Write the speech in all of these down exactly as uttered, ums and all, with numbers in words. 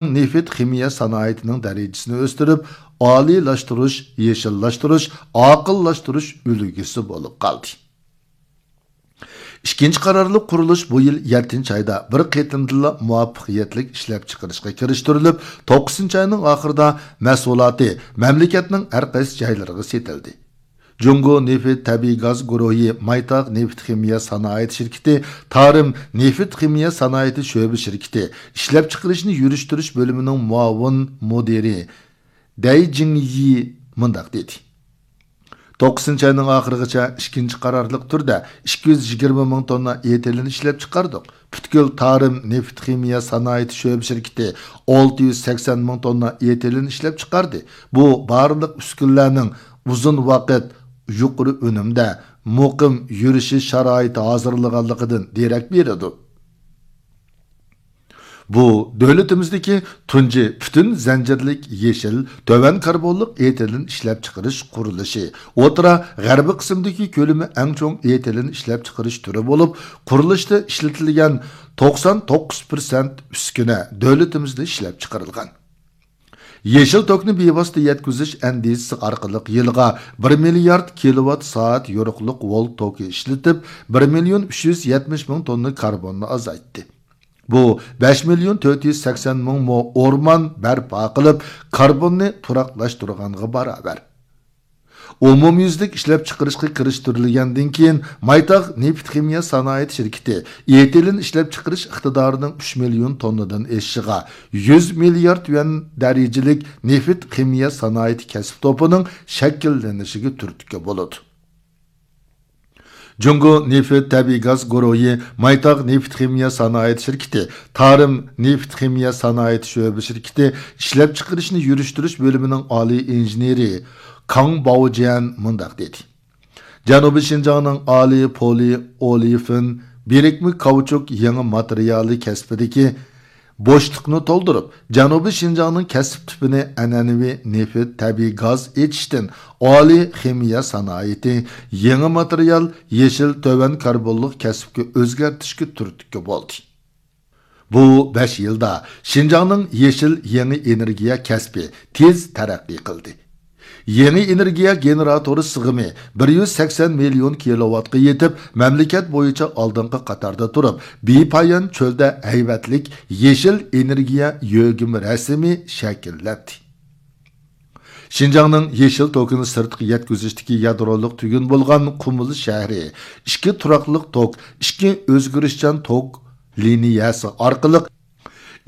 نېفىت خىمىيە سانائىتىنىڭ دەرىجىسىنى ئۆستۈرۈپ، ئالىيلاشتۇرۇش، يېشىللاشتۇرۇش، ئاقىللاشتۇرۇش ئۈلگىسى بولۇپ قالدى. ئىككىنچى قارارلىق قۇرۇلۇش بۇ يىل يەتتىنچى ئايدا بىر قېتىمدىلا مۇۋەپپەقىيەتلىك ئىشلەپچىقىرىشقا كىرىشتۈرۈلۈپ، توققۇزىنچى ئاينىڭ ئاخىرىدا مەھسۇلاتى مەملىكەتنىڭ ھەر قايسى جايلىرىغا سېتىلدى. جۇڭگو نېفىت تەبىئىي گاز گۇرۇھى مايتاغ نېفىت خىمىيە سانائىتى شىركىتى، تارىم نېفىت خىمىيە سانائىتى شۆبە شىركىتى ئىشلەپچىقىرىشنى يۈرۈشتۈرۈش بۆلۈمىنىڭ مۇئاۋىن مۇدىرى دەي جىڭيى مۇنداق دېدى: توققۇزىنچى ئاينىڭ ئاخىرىغىچە ئىككىنچى قارارلىق تۈردە ئىككى يۈز يىگىرمە مىڭ توننا ئېتىلېن ئىشلەپچىقاردۇق. پۈتكۈل تارىم نېفىت خىمىيە سانائىتى شۆبە شىركىتى ئالتە يۈز سەكسەن مىڭ توننا ئېتىلېن ئىشلەپچىقاردى. بۇ بارلىق ئۈسكۈنىلەرنىڭ ئۇزۇن ۋاقىت يۇقىرى ئۈنۈمدە مۇقىم يۈرۈشى شارائىتى ھازىرلىغانلىقىدىن دېرەك بېرىدۇ. بۇ دۆلىتىمىزدىكى تۇنجى پۈتۈن زەنجىرلىك يېشىل، تۆۋەن كاربونلۇق ئېتىلېن ئىشلەپچىقىرىش قۇرۇلۇشى. ئوتتۇرا غەربىي قىسىمدىكى كۆلىمى ئەڭ چوڭ ئېتىلېن ئىشلەپچىقىرىش تۈرى بولۇپ، قۇرۇلۇشتا ئىشلىتىلگەن توقسان توققۇز پىرسەنت ئۈسكۈنە دۆلىتىمىزدە ئىشلەپچىقىرىلغان. يېشىل توكنى بىۋاسىتە يەتكۈزۈش ئەندىزىسى ئارقىلىق يىلىغا بىر مىليارد كىلوۋات سائەت يورۇقلۇق ۋولت توكى ئىشلىتىپ، بىر مىليون ئۈچ يۈز يەتمىش مىڭ توننا كاربوننى ئازايتتى. بۇ بەش مىليون تۆت يۈز سەكسەن مىڭ مو ئورمان بەرپا قىلىپ، كاربوننى تۇراقلاشتۇرغانغا باراۋەر. ئومۇميۈزلۈك ئىشلەپچىقىرىشقا كىرىشتۈرۈلگەندىن كېيىن، مايتاغ نېفىت خىمىيە سانائەت شىركىتى ئېتىلېن ئىشلەپچىقىرىش ئىقتىدارىنىڭ ئۈچ مىليون توننىدىن ئېشىشىغا، يۈز مىليارد يۈەن دەرىجىلىك نېفىت خىمىيە سانائەت كەسىپ توپىنىڭ شەكىللىنىشىگە تۈرتكە بولىدۇ. جۇڭگو نېفىت تەبىئىي گاز گۇرۇھى مايتاغ نېفىت خىمىيە سانائەت شىركىتى، تارىم نېفىت خىمىيە سانائەت شۆبە شىركىتى ئىشلەپچىقىرىشنى يۈرۈشتۈرۈش بۆلۈمىنىڭ ئالىي ئىنژېنېرى كاڭ باۋجيەن مۇنداق دېدى: جەنۇبىي شىنجاڭنىڭ ئالىي پولى ئولېفىن بىرىكمە كاۋچۇك يېڭى ماتېرىيالى كەسپىدىكى بوشلۇقنى تولدۇرۇپ، جەنۇبىي شىنجاڭنىڭ كەسىپ تىپىنى ئەنئەنىۋى نېفىت، تەبىئىي گاز ئېچىشتىن ئالىي خىمىيە سانائىتى، يېڭى ماتېرىيال، يېشىل تۆۋەن كاربونلۇق كەسىپكە ئۆزگەرتىشكە تۈرتكە بولدى. بۇ بەش يىلدا شىنجاڭنىڭ يېشىل يېڭى ئېنېرگىيە كەسپى تېز تەرەققىي قىلدى. يېڭى ئېنېرگىيە گېنېراتورى سىغىمى بىر يۈز سەكسەن مىليون كىلوۋاتقا يېتىپ، مەملىكەت بويىچە ئالدىنقى قاتاردا تۇرۇپ، بىپايان چۆلدە ھەيۋەتلىك يېشىل ئېنېرگىيە يۆگىمە رەسىمى شەكىللەندى. شىنجاڭنىڭ يېشىل توكىنى سىرتقا يەتكۈزۈشتىكى يادرولۇق تۈگۈن بولغان قۇمۇل شەھىرى ئىككى تۇراقلىق توك، ئىككى ئۆزگىرىشچان توك لىنىيەسى ئارقىلىق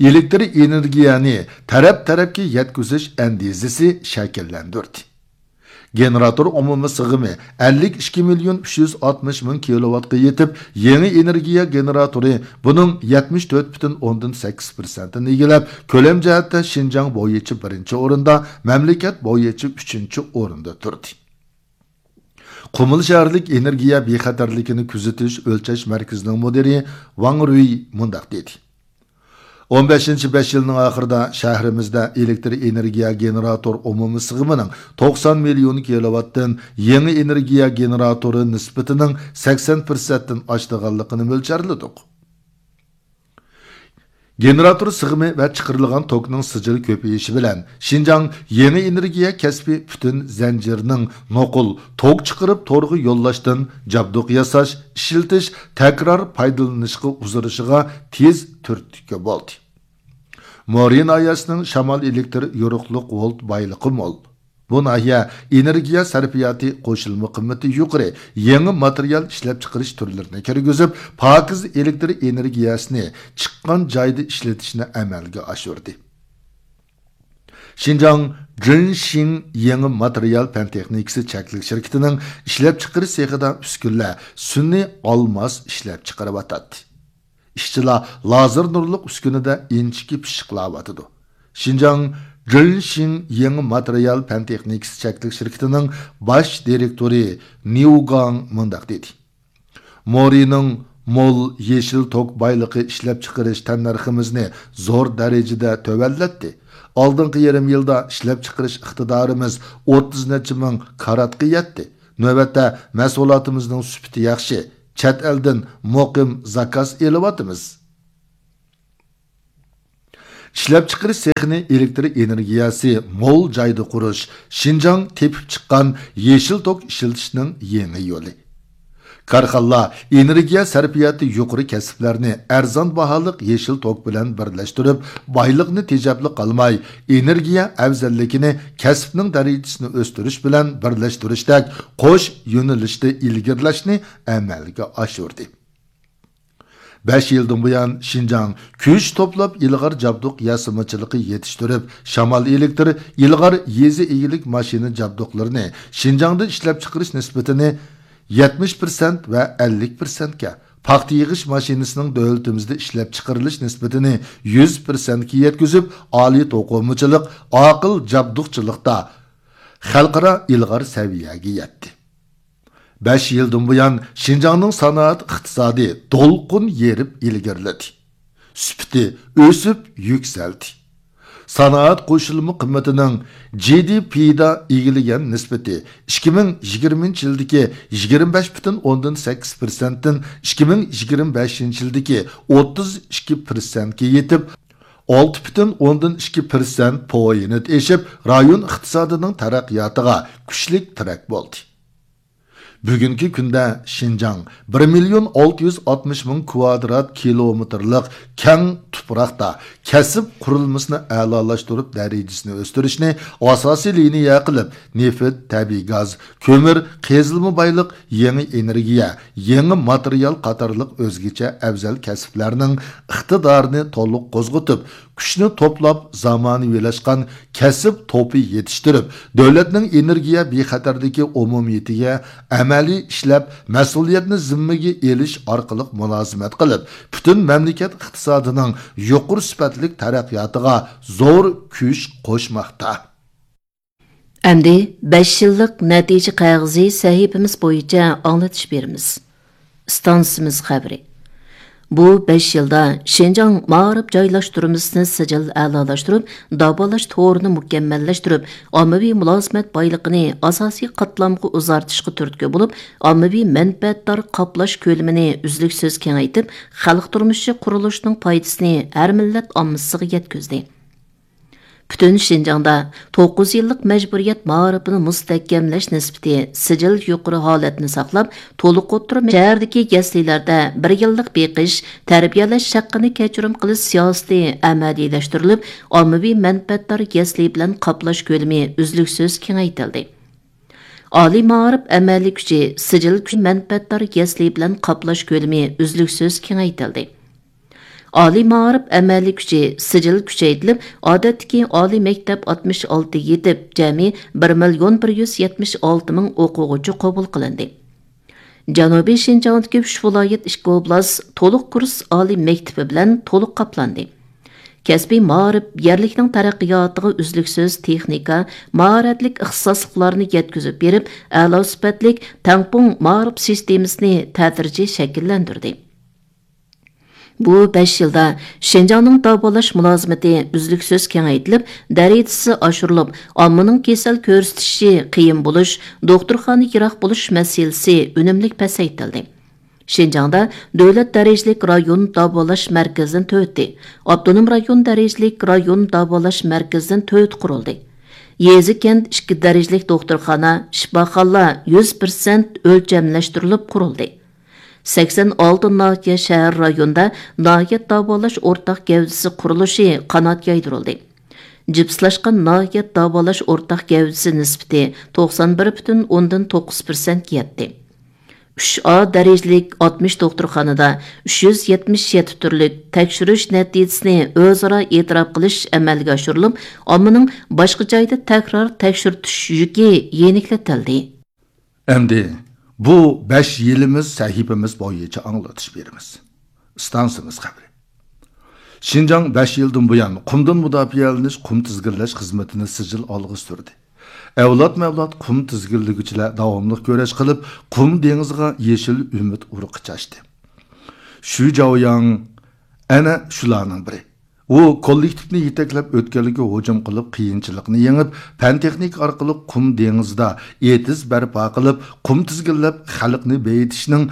ئېلېكتر ئېنېرگىيەنى تەرەپ-تەرەپكە يەتكۈزۈش ئەندىزىسى شەكىللەندۈردى. گېنېراتور ئومۇمىي سىغىمى ئەللىك ئىككى مىليون ئۈچ يۈز ئاتمىش مىڭ كىلوۋاتقا يېتىپ، يېڭى ئېنېرگىيە گېنېراتورى بۇنىڭ يەتمىش تۆت پۈتۈن ئوندىن سەككىز پىرسەنتىنى ئىگىلەپ، كۆلەم جەھەتتە شىنجاڭ بويىچە بىرىنچى ئورۇندا، مەملىكەت بويىچە ئۈچىنچى ئورۇندا تۇردى. قۇمۇل شەھەرلىك ئېنېرگىيە بىخەتەرلىكىنى كۆزىتىش ئۆلچەش مەركىزىنىڭ مۇدىرى ۋاڭ رۈي مۇنداق دېدى: ئون بەشىنچى بەش يىلنىڭ ئاخىرىدا شەھىرىمىزدە ئېلېكتر ئېنېرگىيە گېنېراتور ئومۇمىي سىغىمىنىڭ توقسان مىليون كىلوۋاتتىن يېڭى ئېنېرگىيە گېنېراتورى نىسبىتىنىڭ سەكسەن پىرسەنتتىن ئاشىدىغانلىقىنى مۆلچەرلىدۇق. گېنېراتور سىغىمى ۋە چىقىرىلغان توكنىڭ سىجىل كۆپىيىشى بىلەن، شىنجاڭ يېڭى ئېنېرگىيە كەسپى پۈتۈن زەنجىرىنىڭ نوقۇل توك چىقىرىپ تورغا يوللاشتىن جابدۇق ياساش، ئىشلىتىش، تەكرار پايدىلىنىشقا ئۇزىرىشىغا تېز تۈرتكە بولدى. مورى ناھىيەسىنىڭ شامال ئېلېكتر يورۇقلۇق ۋولت بايلىقى مول. بۇ ناھىيە ئېنېرگىيە سەرپىياتى قوشۇلما قىممىتى يۇقىرى، يېڭى ماتېرىيال ئىشلەپچىقىرىش تۈرلىرىنى كىرگۈزۈپ، پاكىز ئېلېكتر ئېنېرگىيەسىنى چىققان جايدا ئىشلىتىشنى ئەمەلگە ئاشۇردى. شىنجاڭ جىنشىڭ يېڭى ماتېرىيال پەن تېخنىكىسى چەكلىك شىركىتىنىڭ ئىشلەپچىقىرىش سېخىدا ئۈسكۈنىلەر سۈنئىي ئالماس ئىشلەپچىقىرىۋاتاتتى. ئىشچىلار لازېر نۇرلۇق ئۈسكۈنىدە ئىنچىكە پىششىقلاۋاتىدۇ. شىنجاڭ جىنشىڭ يېڭى ماتېرىيال پەن تېخنىكىسى چەكلىك شىركىتىنىڭ باش دىرېكتورى نيۇ گاڭ مۇنداق دېدى: مورىنىڭ مول يېشىل توك بايلىقى ئىشلەپچىقىرىش تەننەرخىمىزنى زور دەرىجىدە تۆۋەنلەتتى. ئالدىنقى يېرىم يىلدا ئىشلەپچىقىرىش ئىقتىدارىمىز ئوتتۇز نەچچە مىڭ كاراتقا يەتتى. نۆۋەتتە مەھسۇلاتىمىزنىڭ سۈپىتى ياخشى، چەت ئەلدىن مۇقىم زاكاز ئېلىۋاتىمىز. ئىشلەپچىقىرىش سېخىنى ئېلېكتر ئېنېرگىيەسى مول جايدا قۇرۇش، شىنجاڭ تېپىپ چىققان يېشىل توك ئىشلىتىشنىڭ يېڭى يولى. كارخانىلار ئېنېرگىيە سەرپىياتى يۇقىرى كەسىپلەرنى ئەرزان باھالىق يېشىل توك بىلەن بىرلەشتۈرۈپ، بايلىقنى تېجەپلا قالماي، ئېنېرگىيە ئەۋزەللىكىنى، كەسىپنىڭ دەرىجىسىنى ئۆستۈرۈش بىلەن بىرلەشتۈرۈشتەك قوش يۆنىلىشتە ئىلگىرىلەشنى ئەمەلگە ئاشۇردى. بەش يىلدىن بۇيان، شىنجاڭ كۈچ توپلاپ ئىلغار جابدۇق ياسىمىچىلىقى يېتىشتۈرۈپ، شامال ئېلېكتر، ئىلغار يېزا ئىگىلىك ماشىنا جابدۇقلىرىنى شىنجاڭدا ئىشلەپچىقىرىش نىسبىتىنى يەتمىش پىرسەنت ۋە ئەللىك پىرسەنتكە، پاختا يىغىش ماشىنىسىنىڭ دۆلىتىمىزدە ئىشلەپچىقىرىلىش نىسبىتىنى يۈز پىرسەنتكە يەتكۈزۈپ، ئالىي توقۇمىچىلىق، ئاقىل جابدۇقچىلىقتا خەلقئارا ئىلغار سەۋىيەگە يەتتى. بەش يىلدىن بۇيان، شىنجاڭنىڭ سانائەت ئىقتىسادى دولقۇن يېرىپ ئىلگىرىلىدى. سۈپىتى ئۆسۈپ يۈكسەلدى. سانائەت قوشۇلما قىممىتىنىڭ جى دى پىدا ئىگىلىگەن نىسبىتى ئىككى مىڭ يىگىرمىنچى يىلدىكى يىگىرمە بەش پۈتۈن ئوندىن سەككىز پىرسەنتتىن ئىككى مىڭ يىگىرمە بەشىنچى يىلدىكى ئوتتۇز ئىككى پىرسەنتكە يېتىپ، ئالتە پۈتۈن ئوندىن ئىككى پىرسەنت پويىنت ئېشىپ، رايون ئىقتىسادىنىڭ تەرەققىياتىغا كۈچلۈك تىرەك بولدى. بۈگۈنكى كۈندە شىنجاڭ بىر مىليون ئالتە يۈز ئاتمىش مىڭ كۋادرات كىلومېتىرلىق كەڭ تۇپراقتا كەسىپ قۇرۇلمىسىنى ئەلالاشتۇرۇپ، دەرىجىسىنى ئۆستۈرۈشنى ئاساسىي لىنىيە قىلىپ، نېفىت، تەبىئىي گاز، كۆمۈر، قېزىلما بايلىق، يېڭى ئېنېرگىيە، يېڭى ماتېرىيال قاتارلىق ئۆزگىچە ئەۋزەل كەسىپلەرنىڭ ئىقتىدارىنى تولۇق قوزغىتىپ، كۈچنى توپلاپ، زامانىۋىلاشقان كەسىپ توپى يېتىشتۈرۈپ، دۆلەتنىڭ ئېنېرگىيە بىخەتەرلىكى ئومۇمىيىتىگە ئەمەلىي ئىشلەپ، مەسئۇلىيەتنى زىممىگە ئېلىش ئارقىلىق مۇلازىمەت قىلىپ، پۈتۈن مەملىكەت ئىقتىسادىنىڭ يۇقىرى سۈپەتلىك تەرەققىياتىغا زور كۈچ قوشماقتا. ئەمدى بەش يىللىق نەتىجە قەغىزى سەھىپىمىز بويىچە ئاڭلىتىش بېرىمىز. ئىستانسىمىز خەۋىرى. بۇ بەش يىلدا شىنجاڭ مائارىپ جايلاشتۇرمىسىنى سىجىل ئەلالاشتۇرۇپ، داۋالاش تورىنى مۇكەممەللەشتۈرۈپ، ئاممىۋى مۇلازىمەت بايلىقىنى ئاساسىي قاتلامغا ئۇزارتىشقا تۈرتكە بولۇپ، ئاممىۋى مەنپەئەتدار قاپلاش كۆلىمىنى ئۈزلۈكسىز كېڭەيتىپ، خەلق تۇرمۇشى قۇرۇلۇشىنىڭ پايدىسىنى ھەر مىللەت ئاممىسىغا يەتكۈزدى. پۈتۈن شىنجاڭدا توققۇز يىللىق مەجبۇرىيەت مائارىپىنى مۇستەھكەملەش نىسبىتى سىجىل يۇقىرى ھالەتنى ساقلاپ، تولۇق ئوتتۇرا شەھەردىكى يەسلىلەردە بىر يىللىق بېقىش، تەربىيەلەش ھەققىنى كەچۈرۈم قىلىش سىياسىتى ئەمەلىيلەشتۈرۈلۈپ، ئاممىۋى مەنپەئەتدار يەسلى بىلەن قاپلاش كۆلىمى ئۈزلۈكسىز كېڭەيتىلدى. ئالىي مائارىپ ئەمەلىي كۈچى سىجىل كۈچ مەنپەئەتدار يەسلى بىلەن قاپلاش كۆلىمى ئۈزلۈكسىز كېڭەيتىلدى. ئالىي مائارىپ ئەمەلىي كۈچى سىجىل كۈچەيتىلىپ، ئادەتتىكى ئالىي مەكتەپ ئاتمىش ئالتە يېتىپ، جەمئىي بىر مىليون بىر يۈز يەتمىش ئالتە مىڭ ئوقۇغۇچى قوبۇل قىلىندى. جەنۇبىي شىنجاڭدىكى ئۈچ ۋىلايەت، ئىككى ئوبلاست تولۇق كۇرس ئالىي مەكتىپى بىلەن تولۇق قاپلاندى. كەسپىي مائارىپ يەرلىكنىڭ تەرەققىياتىغا ئۈزلۈكسىز تېخنىكا، ماھارەتلىك ئىختىساسلىقلارنى يەتكۈزۈپ بېرىپ، ئەلا سۈپەتلىك تەڭپۇڭ مائارىپ سىستېمىسىنى تەدرىجىي شەكىللەندۈردى. بۇ بەش يىلدا شىنجاڭنىڭ داۋالاش مۇلازىمىتى ئۈزلۈكسىز كېڭەيتىلىپ، دەرىجىسى ئاشۇرۇلۇپ، ئاممىنىڭ كېسەل كۆرسىتىشى قىيىن بولۇش، دوختۇرخانا يىراق بولۇش مەسىلىسى ئۈنۈملۈك پەسەيتىلدى. شىنجاڭدا دۆلەت دەرىجىلىك رايون داۋالاش مەركىزىدىن تۆتى، ئاپتونوم رايون دەرىجىلىك رايون داۋالاش مەركىزىدىن تۆتى قۇرۇلدى. يېزا، كەنت ئىككى دەرىجىلىك دوختۇرخانا، شىپاخانىلار يۈز پىرسەنت ئۆلچەملەشتۈرۈلۈپ قۇرۇلدى. سەكسەن ئالتە ناھىيە، شەھەر، رايوندا ناھىيە داۋالاش ئورتاق گەۋدىسى قۇرۇلۇشى قانات يايدۇرۇلدى. جىپسلاشقان ناھىيە داۋالاش ئورتاق گەۋدىسى نىسبىتى توقسان بىر پۈتۈن ئوندىن توققۇز پىرسەنتكە يەتتى. ئۈچ ئا دەرىجىلىك ئاتمىش دوختۇرخانىدا ئۈچ يۈز يەتمىش يەتتە تۈرلۈك تەكشۈرۈش نەتىجىسىنى ئۆزئارا ئېتىراپ قىلىش ئەمەلگە ئاشۇرۇلۇپ، ئاممىنىڭ باشقا جايدا تەكرار تەكشۈرتۈش يۈكى يېنىكلىتىلدى. ئەمدى بۇ بەش يىلىمىز سەھىپىمىز بويىچە ئاڭلىتىش بېرىمىز. ئىستانسىمىز خەۋىرى. شىنجاڭ بەش يىلدىن بۇيان قۇمدىن مۇداپىئەلىنىش، قۇم تىزگىنلەش خىزمىتىنى سىجىل ئالغا سۈردى. ئەۋلادمۇ ئەۋلاد قۇم تىزگىنلىگۈچىلەر داۋاملىق كۈرەش قىلىپ، قۇم دېڭىزىغا يېشىل ئۈمىد ئۇرۇقى چاچتى. شۈ جاۋياڭ ئەنە شۇلارنىڭ بىرى. ئۇ كوللېكتىپنى يېتەكلەپ، ئۆتكەلگە ھۇجۇم قىلىپ، قىيىنچىلىقنى يېڭىپ، پەن-تېخنىكا ئارقىلىق قۇم دېڭىزىدا ئېتىز بەرپا قىلىپ، قۇم تىزگىنلەپ، خەلقنى بېيىتىشنىڭ